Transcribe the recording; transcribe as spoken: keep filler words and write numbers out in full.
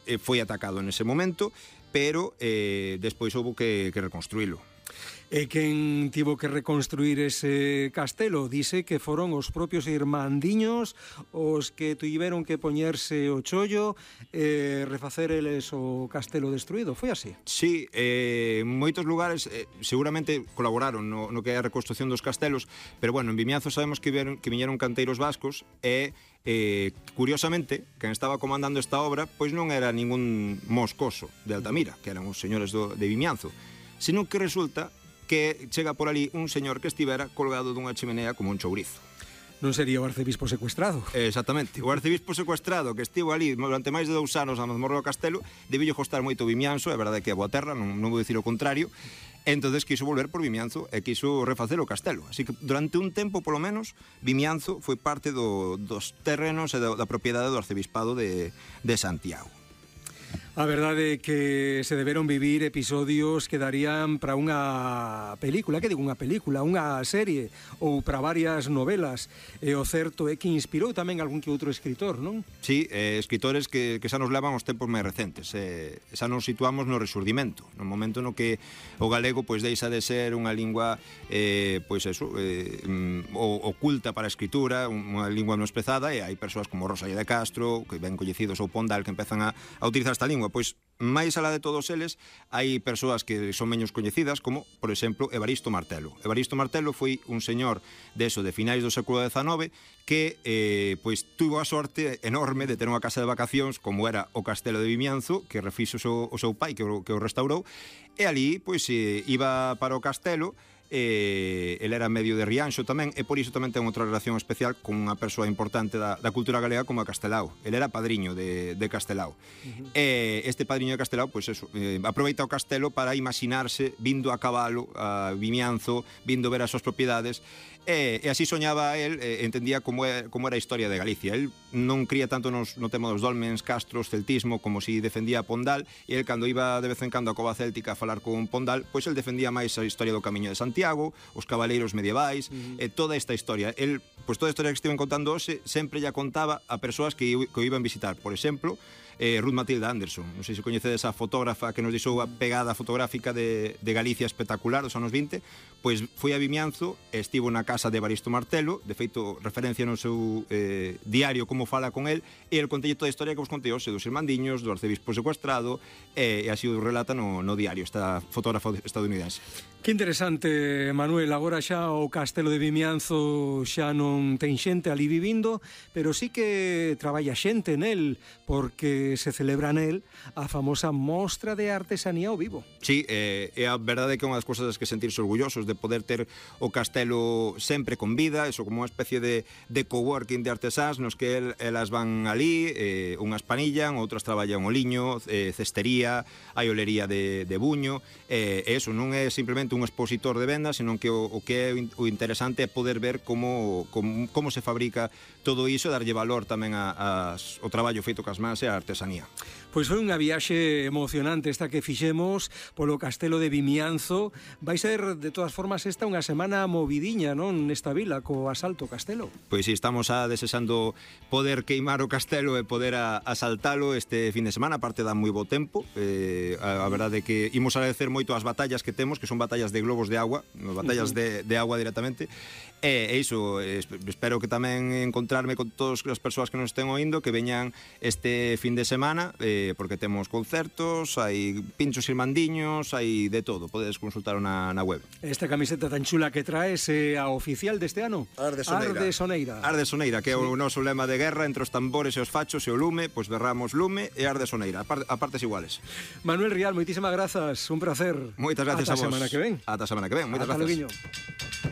eh, foi atacado nese momento, pero eh, despois houve que, que reconstruílo. E quen tivo que reconstruir ese castelo dice que foron os propios irmandiños os que tiveron que poñerse o chollo e refacer eles o castelo destruído, foi así? Sí, eh, en moitos lugares eh, seguramente colaboraron no, no que é a reconstrucción dos castelos, pero bueno, en Vimianzo sabemos que, vieron, que viñeron canteiros vascos e eh, curiosamente, quen estaba comandando esta obra pois non era ningún moscoso de Altamira, que eran os señores do, de Vimianzo, senón que resulta que chega por ali un señor que estivera colgado dunha chimenea como un chourizo. Non sería o arcebispo secuestrado? Exactamente, o arcebispo secuestrado que estivo ali durante máis de dous anos na mazmorra do castelo, debillo costar moito Vimianzo, é verdade que é boa terra, non, non vou dicir o contrario, entonces quiso volver por Vimianzo e quiso refacer o castelo. Así que durante un tempo, polo menos, Vimianzo foi parte do, dos terrenos e da, da propiedade do arcebispado de, de Santiago. A verdade é que se deberon vivir episodios que darían para unha película, que digo unha película, unha serie ou para varias novelas, e o certo é que inspirou tamén algún que outro escritor, non? Sí, eh, escritores que, que xa nos levan aos tempos máis recentes, eh, xa nos situamos no Resurdimento, no momento no que o galego pois deixa de ser unha lingua eh, pois eso, eh, o, oculta para a escritura, unha lingua menosprezada, e hai persoas como Rosalía de Castro, que ben coñecidos, ou Pondal, que empezan a, a utilizar esta lingua. Pois máis alá de todos eles hai persoas que son menos coñecidas, como, por exemplo, Evaristo Martelo. Evaristo Martelo foi un señor de eso, de finais do século dezanove, que eh, pois tuvo a sorte enorme de ter unha casa de vacacións como era o Castelo de Vimianzo, que refixo o seu, o seu pai, que o, que o restaurou, e ali pois eh, iba para o castelo. Eh, ele era medio de Rianxo tamén, e por iso tamén ten outra relación especial con unha persoa importante da, da cultura galega como a Castelao. Ele era padriño de, de Castelao. Uh-huh. E este padriño de Castelao, pois eso, eh, aproveita o castelo para imaginarse vindo a cabalo a Vimianzo, vindo ver as súas propiedades, e, e así soñaba el, e entendía como, é, como era a historia de Galicia. El non cría tanto nos, no tema dos dolmens, castros, celtismo, como si defendía a Pondal, e el cando iba de vez en cando a Cova Céltica a falar con Pondal, pois el defendía máis a historia do Camiño de Santiago, os cabaleiros medievais, uh-huh. e toda esta historia. El, pois toda a historia que estiven contando hoxe, sempre ya contaba a persoas que, que o iban visitar. Por exemplo, eh, Ruth Matilda Anderson, non sei se coñecedes a fotógrafa que nos deixou a pegada fotográfica de, de Galicia espectacular dos anos vinte, pois foi a Vimianzo e estivo na casa de Evaristo Martelo, de feito referencia no seu eh, diario como fala con el, e el contelle toda a historia que vos contei hoxe dos irmandiños, do arcebispo secuestrado, e, e así o relata no, no diario esta fotógrafa estadounidense. Que interesante, Manuel, agora xa o Castelo de Vimianzo xa non ten xente ali vivindo, pero sí que traballa xente nel, porque se celebra nel a famosa mostra de artesanía ao vivo. Sí, eh, é a verdade que é unha das cousas das que sentirse orgullosos de poder ter o castelo sempre con vida, eso como unha especie de, de coworking de artesáns nos que el, elas van ali, eh, unhas panillan, outras traballan o liño, eh, cestería, hai olería de, de buño, eh, e eso non é simplemente un expositor de venda, senón que o, o que é o interesante é poder ver como, como, como se fabrica todo iso e darlle valor tamén a, a, o traballo feito cas mans e a artesanía. Pois foi unha viaxe emocionante esta que fixemos polo Castelo de Vimianzo. Vai ser, de todas formas, esta unha semana movidiña, non, nesta vila, co asalto ao castelo. Pois si, estamos a desexando poder queimar o castelo e poder a, asaltalo este fin de semana, aparte dá moi bo tempo. Eh, a, a verdade é que imos agradecer moito as batallas que temos, que son batallas de globos de agua, batallas uh-huh. de, de agua directamente, e, e iso, espero que tamén encontrarme con todas as persoas que nos estén oindo, que veñan este fin de semana, eh, porque temos concertos, hai pinchos irmandiños, hai de todo, podedes consultar na, na web. Esta camiseta tan chula que traes é a oficial deste ano? Arde Soneira. Arde Soneira. Arde Soneira, que é sí. o noso lema de guerra entre os tambores e os fachos e o lume, pois berramos lume e Arde Soneira, a partes iguales. Manuel Rial, moitísimas grazas, un placer. Moitas gracias Ata a vos. Ata a semana que ven. Ata a semana que ven, moitas Ata gracias. Loguiño.